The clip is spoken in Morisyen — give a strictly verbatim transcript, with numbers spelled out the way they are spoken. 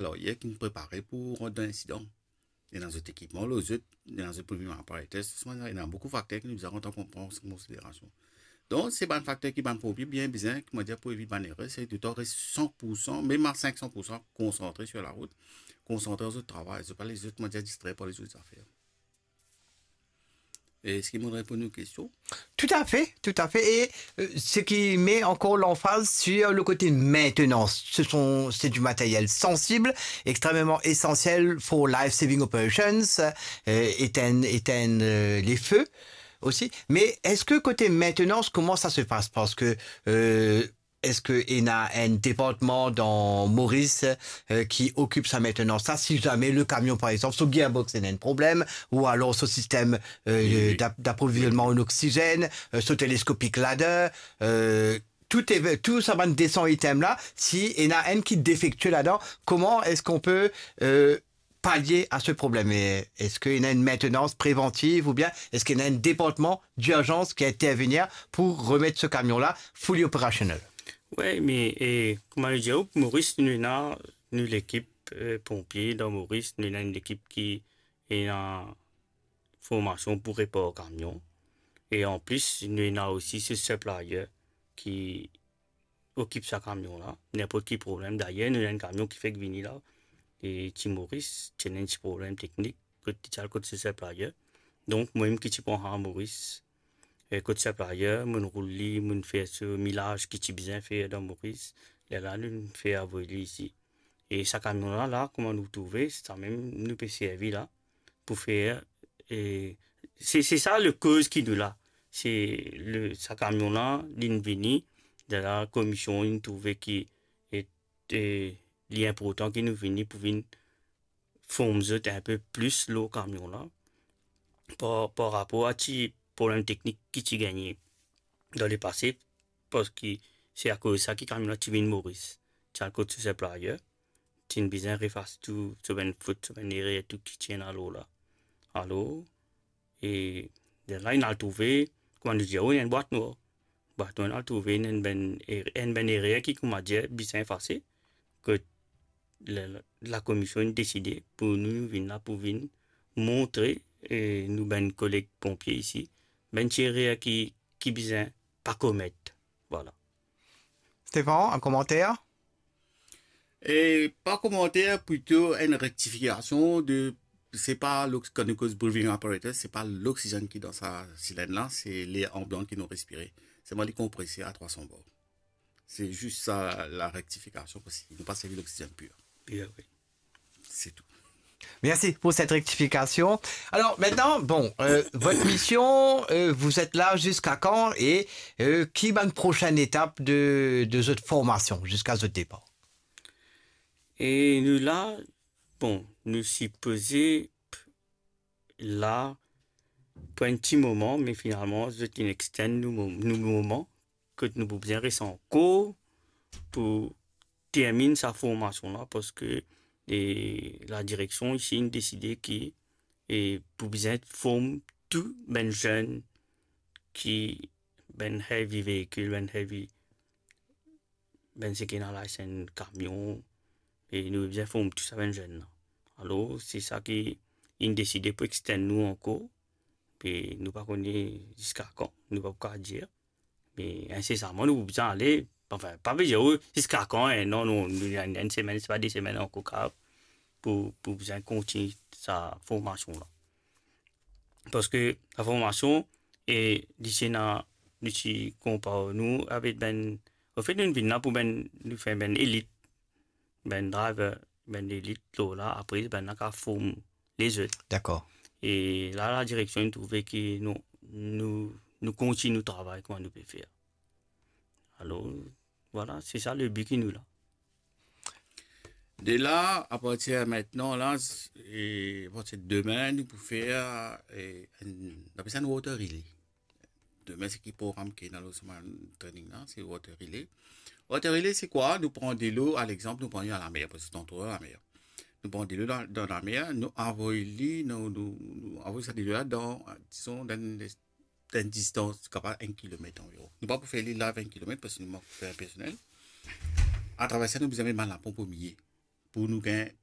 layer ki finn prepare pou rant dan insidan. Ena zot ekipman, lor zot, ena zot premium apparatus, ena boukou fakter ki nou bizin pran an konsiderasion. Donk, se bann fakter ki bann ponpie bien bizin, koumadir, pou evit bann erer, se toutan res san pour san, mem a senk san pour san, konsantre sir larout, konsantre lor zot travay, zot pa les zot, koumadir, distrer par lezot zafer. Eski mo'nn reponn ou kestion? Tout à fait, tout à fait. Et euh, ce qui met encore l'emphase sur le côté maintenance. Ce sont, c'est du matériel sensible, extrêmement essentiel for life-saving operations, euh, éteindre, éteindre euh, les feux aussi. Mais est-ce que côté maintenance, comment ça se passe? Parce que euh, est-ce que ena un département dans Maurice euh, qui occupe sa maintenance là, si jamais le camion, par exemple, son gearbox ena un problème, ou alors son système euh, d'ap- d'approvisionnement en oxygène, euh, son télescopic ladder, euh, tout, est, tout sa bann deux cents items là, si ena un qui est défectueux là-dedans, comment est-ce qu'on peut euh, pallier à ce problème? Et est-ce qu'il y a une maintenance préventive ou bien est-ce qu'il y a un département d'urgence qui intervient pour remettre ce camion-là fully operational? Wi, me e, kouma nou dir, Moris, nou ena nou lekip eh, ponpie dan Moris, nou ena enn lekip ki ena formasion pou repar kamion. E anplis, nou ena osi se supplier ki okip sa kamion la, ninport ki problem. Dayer, nou ena enn kamion ki fek vini la, e ti Moris, ti ena enn ti problem teknik, kot ti al kot se supplier. Donk, mwa mem ki ti pran sa Moris, e kot supplier, mo'nn roul li, mo'nn fer so milaz ki ti bizin fer dan Moris, lerla nou fer avoy li isi. E sa kamion la, la, kouma nou trouve, samem nou pe servi la pou fer, e, se, se sa lekoz ki nou la. Se le, sa kamion la, li'nn vini, dan la komision, inn trouve ki, e, e, li inportan ki nou vini pou vinn form zot inpe plis lor kamion la, par, par rapor a ti problem teknik ki ti gagne dan lepase, parski se akoz sa ki kamion la ti vinn Moris, ti al kot so supplier, ti'nn bizin refas tou, so bann fot, so bann erer, tou ki ti ena lor la. Alor, e, lerla inn al trouve, kouma nou dir, wi, enn bwat nwar. Bwat nwar, inn al trouve enn bann er-, enn bann erer ki, kouma dir, bizin efase, kot la, la, lakomision inn deside pou nou, nou vinn la pou vinn montre, e, nou bann koleg ponpie isi, bann ti erer ki, ki bizin pa komet. Vwala. Stéphane, un commentaire? E pa komanter, plito enn rektifikasion de, se pa lox-, kan nou koz breathing apparatus, se pa loksizenn ki dan sa silenn la, se ler anbian ki nou respire. Selman li konprese a trwa san bar. Se zis sa la rektifikasion, parski nou pa servi loksizenn pir. Bien, wi. Se tou. Merci pour cette rectification. Alors maintenant, bon, euh, votre mission, euh, vous êtes là jusqu'à quand et euh, qui va une prochaine étape de, de votre formation jusqu'à votre départ? E nou la, bon, nou sipoze la pou enn ti moman, me finalman, zot inn extend nou mo-, nou moman, kot nou pou bizin res ankor pou terminn sa formasion la, parski, e, ladireksion isi inn deside ki, e, pou bizin form tou bann zenn ki, bann heavy veikil, bann heavy, bann seki ena license kamion, e nou bizin form tou sa bann zenn la. Alor, se sa ki inn deside pou extend nou ankor, e nou pa kone ziska kan, nou pa pou kapav dir. Me insesaman, nou pou bizin ale, anfin, pa pe dir, wi, ziska kan, e, non, non, nou, enn, enn semenn, se pa de semenn ankor kapav pou, pou bizin kontign sa formasion la. Parski la formasion, e, li ti ena, nou ti konpar nou avek bann, anfet, nou vinn la pou bann, nou fer bann elit, bann driver, bann elit lor la, apre, bann la kapav form lezot. D'accord. E la, ladireksion inn trouve ki nou, nou, nou kontign nou travay kouma nou pe fer. Alor, vwala, se sa le bi ki nou la. De la, apartir mintnan la, s-, e apartir demin, nou pou fer, e, enn, nou apel sa enn water relay. Demin, se ki program ki ena lor semenn training la, se water relay. Water relay, se kwa? Nou pran delo, a lexanp, nou pran li a lamer, parski se antro lamer. Nou pran delo dan, dan lamer, nou avoy li, nou, nou, nou avoy sa delo la dan, dizon, dan enn, dan enn distans kapav enn kilomet anviron. Nou pa pou fer li live enn kilomet, parski nou mank personel. Atraver sa, nou bizin met bann laponp omilie. pou nou gagn